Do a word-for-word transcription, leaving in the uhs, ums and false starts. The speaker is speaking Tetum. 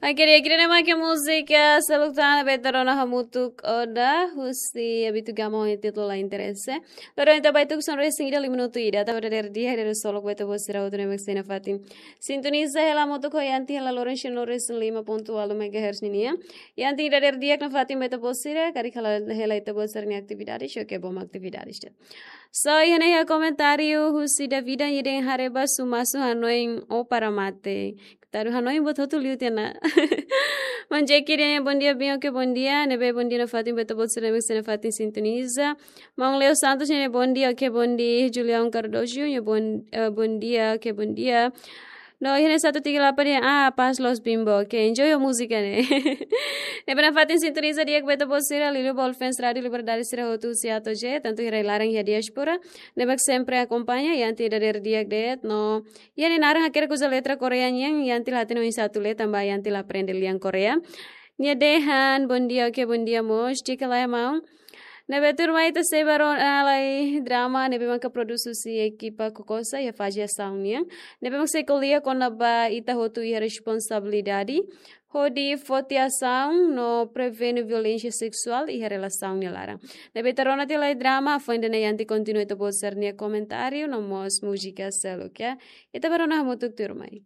Oke, di'ak, ida-ne'e mak múzika seluk tan ne'ebé ita rona hamutuk ona, husi Abito Gama ho títulu La Interese. Loron ita ba tuku sonrisa ida liu minutu ida, ita ba dadeer di'ak ba ita-boot sira hotu ne'ebé sei nafatin sintoniza hela hamutuk ho Yanti hela loron sino resin lima pontu ualu megahertz ninian. Yanti dadeer di'ak nafatin ba ita-boot sira, karik hela hela ita-boot sira-nia atividade, oke, bom atividade. So, iha ne'e iha komentáriu husi Davida nia dehan haree ba sumasu hanoin o para mate. Tadu hanoin buat hotu liu tiha ona. Maun Jeki dehan bondia, bem, oke, bondia. Ne'ebé bondia nafatin ba ita-boot sira ne'ebé sei nafatin sintoniza. Maun Leo Santos dehan bondia, oke, bondia. Julião Cardoso nia bon, eh, bondia, oke, bondia. No, iha ne'e satu tiga delapan dehan, ah, paz los bimbo. Oke, enjoy ho múzika ne'e. Ne'ebé nafatin sintoniza di'ak ba ita-boot sira, liuliu ba All Fans Rádio Liberdade sira hotu husi A to'o Z, tantu iha rai-laran iha diáspora ne'ebé sempre akompaña, Yanti dadeer di'ak de'it, no iha ne'e naran hakerek uza letra Korea nian, Yanti la hatene oinsá atu lee tanba Yanti la aprende lian Korea. Nia dehan bondia, oke, bondia mós, di'ak ka lae maun. Ne'ebé tuirmai ita sei ba rona lai drama ne'ebé maka produs husi ekipa Kokosa iha faze asaun nian. Ne'ebé mak sei ko'alia kona-ba ita hotu iha responsabilidade hodi foti asaun no prevene violénsia seksuál iha relasaun nia laran. Ne'ebé ita rona tiha lai drama, foin ida-ne'e Yanti kontinua ita-boot sira-nia komentáriu no mós múzika seluk, ya. Ita ba rona hamutuk tuirmai.